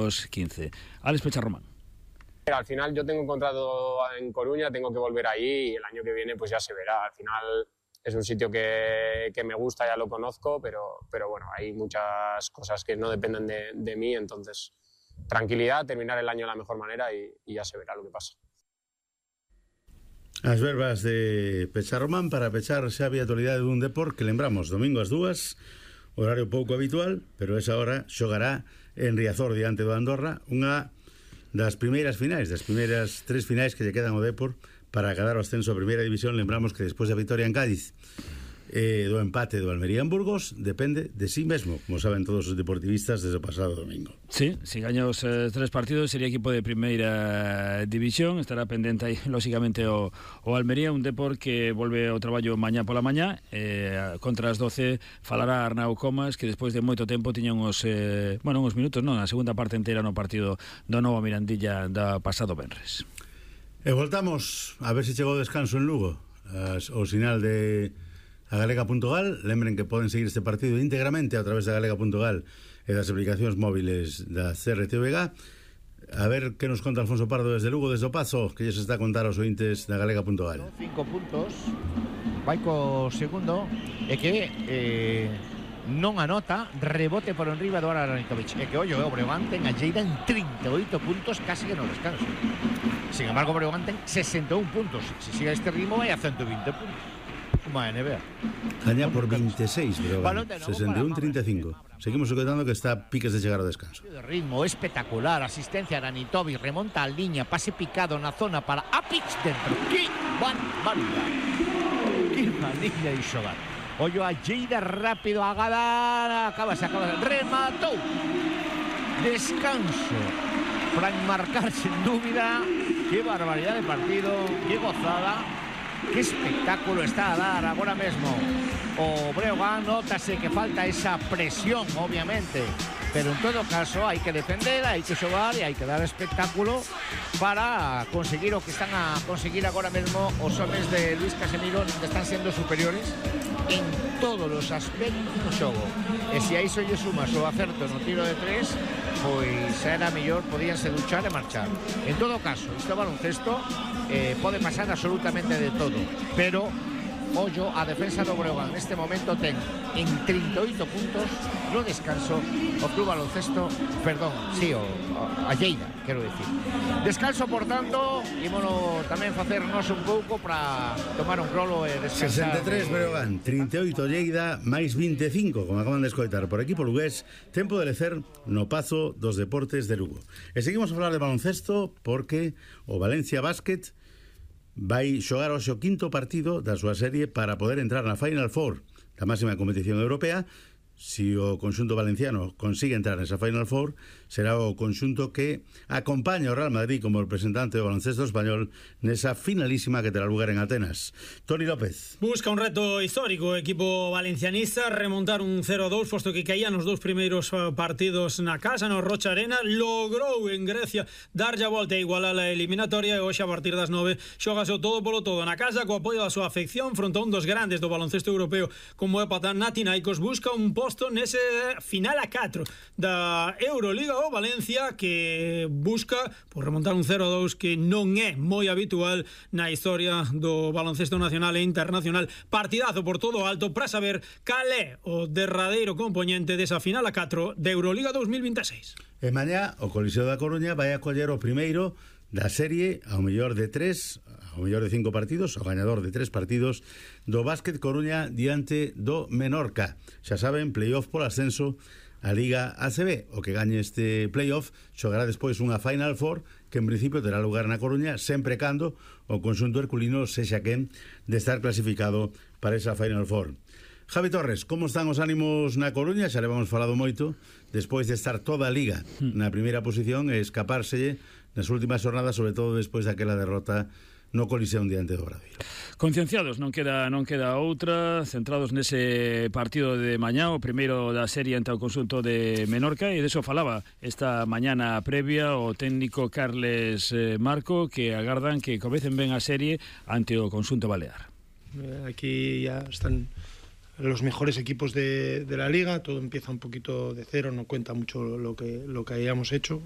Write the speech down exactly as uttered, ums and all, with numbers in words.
años quince. Alex Pecharromán. Al final yo tengo un contrato en Coruña, tengo que volver ahí y el año que viene pues ya se verá. Al final es un sitio que, que me gusta, ya lo conozco, pero, pero bueno, hay muchas cosas que no dependen de, de mí, entonces tranquilidad, terminar el año de la mejor manera y, y ya se verá lo que pasa. As verbas de Pecharromán para pechar xa a actualidade dun deporte que lembramos domingo ás dúas, horario pouco habitual, pero esa hora xogará en Riazor diante do Andorra, unha das primeiras finais, das primeiras tres finais que lle quedan ao Depor para acadar o ascenso a primeira división. Lembramos que despois da vitoria en Cádiz e do empate do Almería en Burgos depende de sí mesmo, como saben todos os deportivistas desde o pasado domingo. Sí, si gaña os eh, tres partidos sería equipo de primeira división. Estará pendente aí lógicamente o, o Almería, un Depor que volve ao traballo mañá pola mañá, eh, contra as doce falará Arnau Comas, que despois de moito tempo tiñan os eh, bueno, uns minutos, non, a segunda parte entera no partido do Nova Mirandilla da pasado venres. E voltamos a ver se chegou o descanso en Lugo. As, o sinal de a galega punto gal. Lembren que poden seguir este partido íntegramente a través da galega punto gal e das aplicacións móviles da C R T V G. A ver que nos conta Alfonso Pardo desde Lugo, desde o Pazo, que lles está a contar aos ointes da galega punto gal. Cinco puntos, vai co segundo, e que eh, non anota, rebote por enriba do Ara Ranitovic. E que, ollo, o Breogán ten a Lleida en trinta e oito puntos, casi que no descanso. Sin embargo, o Breogán ten sesenta e un puntos. Se sigue este ritmo, vai a ciento vinte puntos. Como a N B A. Gaña por veintiséis, Breogán, sesenta e un a trinta e cinco. Seguimos sujetando que está a piques de chegar ao descanso. De ritmo espectacular, asistencia a Ranitovic, remonta a liña, pase picado na zona para Apic dentro. ¡Qué barbaridade! ¡Qué manilla de xogar! Ollo a Lleida rápido, a Gadar, acaba, se acaba, rematou. Descanso para enmarcar sin dúbida. ¡Qué barbaridad de partido! ¡Qué gozada! ¡Qué espectáculo está a dar agora mesmo o Breogán! Nótase que falta esa presión, obviamente, pero en todo caso hai que defender, hai que xogar e hai que dar espectáculo para conseguir o que están a conseguir agora mesmo os homes de Luis Casemiro, onde están sendo superiores en todos os aspectos do xogo. E se a iso lle sumas o acerto no tiro de tres, pois era mellor, podíanse duchar e marchar. En todo caso, isto baloncesto eh, pode pasar absolutamente de todo, pero ollo, a defensa do Breogán neste momento ten en trinta e oito puntos no descanso o Club Baloncesto, perdón, sí, o, o a Lleida, quero decir. Descanso, por tanto, ímonos tamén facernos un pouco para tomar un crolo e descansar. sesenta e tres Breogán, trinta e oito Lleida, máis vinte e cinco, como acaban de escoitar por equipo lugués. Tempo de lecer no Pazo dos Deportes de Lugo. E seguimos a falar de baloncesto porque o Valencia Basket vai xogar hoxe o quinto partido da súa serie para poder entrar na Final Four da máxima competición europea. Si o conxunto valenciano consigue entrar nesa Final Four, será o conxunto que acompaña ao Real Madrid como representante do baloncesto español nesa finalísima que terá lugar en Atenas. Toni López. Busca un reto histórico o equipo valencianista, remontar un cero a dous, posto que caían os dous primeiros partidos na casa, no Rocha Arena. Logrou en Grecia darlle a volta e igualar a eliminatoria, e hoxe a partir das nove xogase o todo polo todo na casa, co apoio da súa afección fronte a un dos grandes do baloncesto europeo como é Panathinaikos. Busca un posto nese final a catro da Euroliga o Valencia, que busca por remontar un cero a dous que non é moi habitual na historia do baloncesto nacional e internacional. Partidazo por todo alto para saber cal é o derradeiro componente desa final a catro da Euroliga dos mil veintiséis. E mañá o Coliseo da Coruña vai a coller o primeiro da serie ao mellor de tres, ao mellor de cinco partidos, ao gañador de tres partidos do Básquet Coruña diante do Menorca. Xa saben, playoff por ascenso a Liga A C B. O que gañe este playoff xogará despois unha Final Four que en principio terá lugar na Coruña, sempre cando o conxunto herculino sexa quen de estar clasificado para esa Final Four. Javi Torres, como están os ánimos na Coruña? Xa le vamos falado moito despois de estar toda a Liga na primeira posición e escapárselle nas últimas jornadas, sobre todo despois daquela derrota no Coliseo diante do Obradoiro. Concienciados, non queda non queda outra, centrados nese partido de mañá, o primeiro da serie ante o conxunto de Menorca, e deso falaba esta mañana previa o técnico Carles Marco, que agardan que comecen ben a serie ante o conxunto balear. Aquí ya están los mejores equipos de, de la liga, todo empieza un poquito de cero, no cuenta mucho lo que, lo que hayamos hecho.